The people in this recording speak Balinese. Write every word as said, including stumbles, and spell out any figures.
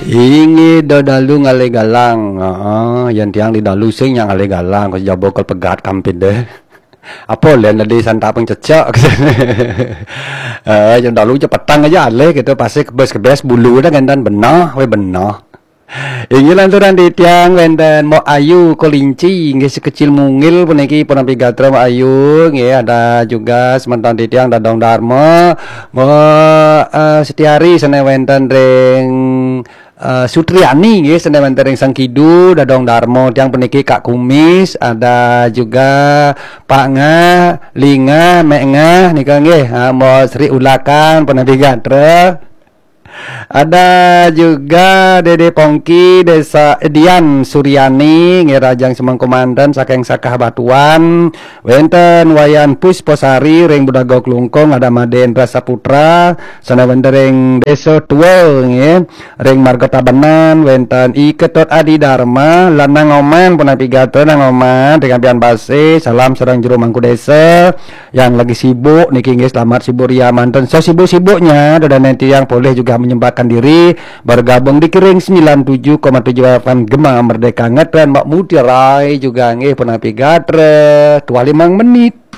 Inggih, do dalu ngalih galang. Heeh, yen tiang di dalu sing nyak ngalih galang, kok jaba kol pegat kampid deh. Apa len tadi santaping cecek. Eh, yen dalu cepetang aja alih gitu, pasti kebes-kebes bulu dah gendan benah, we benah. Inggih lanturan titiang wenten Mok Ayu Kolinci, inggih sekecil mungil puniki punapi gatra Mok Ayu, nggih ada juga semeton titiang Dadong Darma, Mok eh, Setiari sane wenten ring eh, Sutriani nggih sane wenten ring Sangkidu, Dadong Darma tiang puniki Kak Kumis, ada juga Pak Ngah, Lingah, Mek Ngah nika nggih, ha, Mok Sri Ulakan punapi gatra. Ada juga Dede Pongki, Desa Edian Suryani, nggih Rajang Semengku manten saking Sakah Batuan, wenten Wayan Pusposari ring Budaga Klungkung, ada Madendra Saputra, sana wenten ring Desa Tua, nggih, ring Marga Tabanan, wenten I Ketut Adi Dharma, lan Nang Oman, punapi gatra Nang Oman, ring Ampian Base, salam sareng jero mangku desa, yang lagi sibuk niki nggih selamat sibuk ria manten. So sibuk-sibuknya, dodane tiang boleh juga menyempatkan diri bergabung di Kering sembilan tujuh koma tujuh F M Gema Merdeka Ngetren Mak Mutiara juga nggih punapi gatra dua limang menit.